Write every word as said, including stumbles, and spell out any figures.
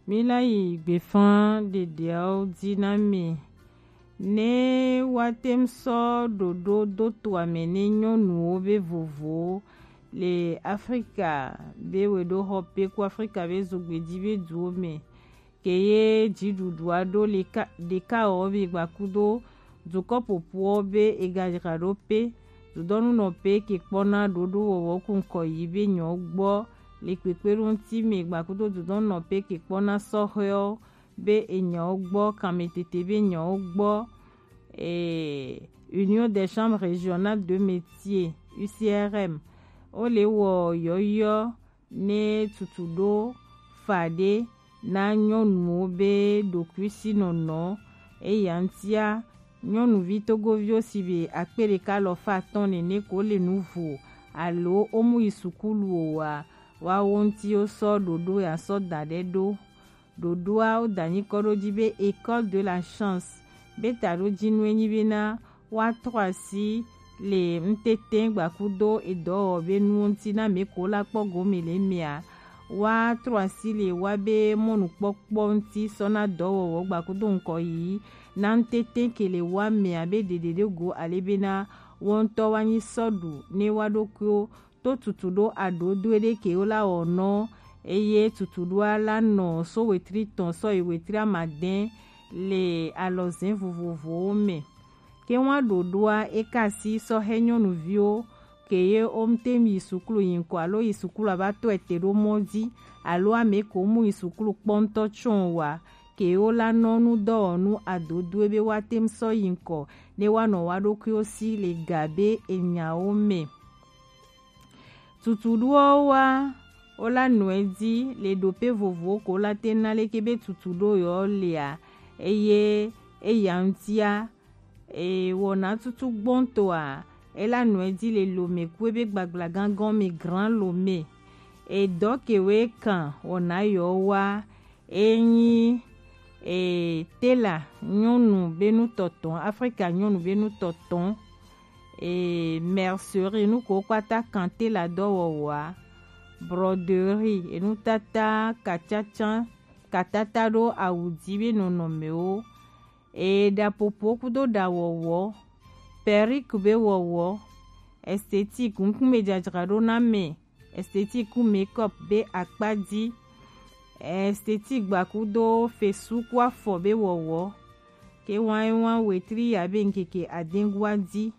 Mi la yi gbefan ɖeɖeawo dzi na mi. Ne woate ŋu sɔ ɖoɖo do to ame ne nyɔnuwo be vovowo le Afrika be weɖoxɔpe ku Afrika be zogbeji be duwo me. Ke ye dziɖuɖua ɖo le ka ɖeka wɔ be gbakudo dukɔ ƒoƒuwo be ega dzra ɖo pe dudɔnunɔpe ke kpɔna ɖoɖo wɔwɔ ku ŋkɔ yi be nyɔ gbɔ le kpekpeɖo ŋuti me gbakudo dudɔnunɔpe ke kpɔna sɔhɛwo be enyawo gbɔ, kanmetete be nyawo gbɔ, eh, Union des Chambres Régionales de Métiers, U C R M, wo le wɔ yɔyɔ ne tutu ɖo fa ɖe na nyɔnuwo be ɖokuisinɔnɔ. Eya ŋutia, nyɔnuvi togoviwo si be akpe ɖeka alafa atɔ̃ nene ko le nu vo alo wo mu yi sukulu o wa, woawo ŋuti wo sɔ ɖoɖo ya sɔ da ɖe ɖo. Ɖoɖoa wo da nyikɔ ɖo dzi be École de la Chance be taɖojinu enyi bena woatrɔ asi le ŋtete gbakudo edɔwɔwɔ be nuwo ŋuti na ame ko la kpɔ gome le mea. Woatrɔ asi le wa be mɔnukpɔkpɔ ŋuti sɔ na dɔwɔwɔ gbakudo ŋkɔ yi na ŋtete ke le wa mea be ɖeɖe ɖe go ale bena wo ŋutɔ woanyi sɔ ɖu ne wa ɖokuiwo to tutuɖo aɖoɖoe ɖe ke wo la wɔ nɔ, eye tutuɖoa la nɔ so wetri tɔn sɔ yi wetri amadɛn le alɔzɛn vovovowo me. Ke wa ɖoɖoa e ka si sɔ hɛ nyɔnuviwo ke ye wo ŋte yi sukulu yi ŋkɔ alo yi sukulu ava tɔ ete ɖo mɔ dzi alo ame ko mu yi sukulu kpɔ ŋutɔ tsɔn wa ke wo la nɔ nu dɔwɔnu adodoe be wa te ŋu sɔ yi ŋkɔ ne wa nɔ wa ɖokuiwo si le ga be enyawo me. Tutuɖoawo wa wo la nɔe dzi le ɖope vovowo ko la te na leke be tutuɖo yɔ lea, eye eya ŋutia, e wɔna tutu gbɔntɔa e la nɔe dzi le lome ku ebe gbagblagã gɔme Grand Lomé. Edɔ ke we kan wɔna yɔ wa enyi e tela nyɔnu be nu tɔtɔn, Afrika nyɔnu be nu tɔtɔn, e mercerie nu ko kpata kan tela dɔwɔwɔa, broderie, enutata katsatsa katata ɖo awu dzi be nɔnɔmewo, e ɖapopo kudo ɖawɔwɔ, perruque be wɔwɔ, esthétique, ŋkume dzadzraɖo na me, esthétique ku make-up be akpa dzi, esthétique gbakudo fesu ku afɔ be wɔwɔ, ke wan wan wetri ya be ŋkeke adengua dzi.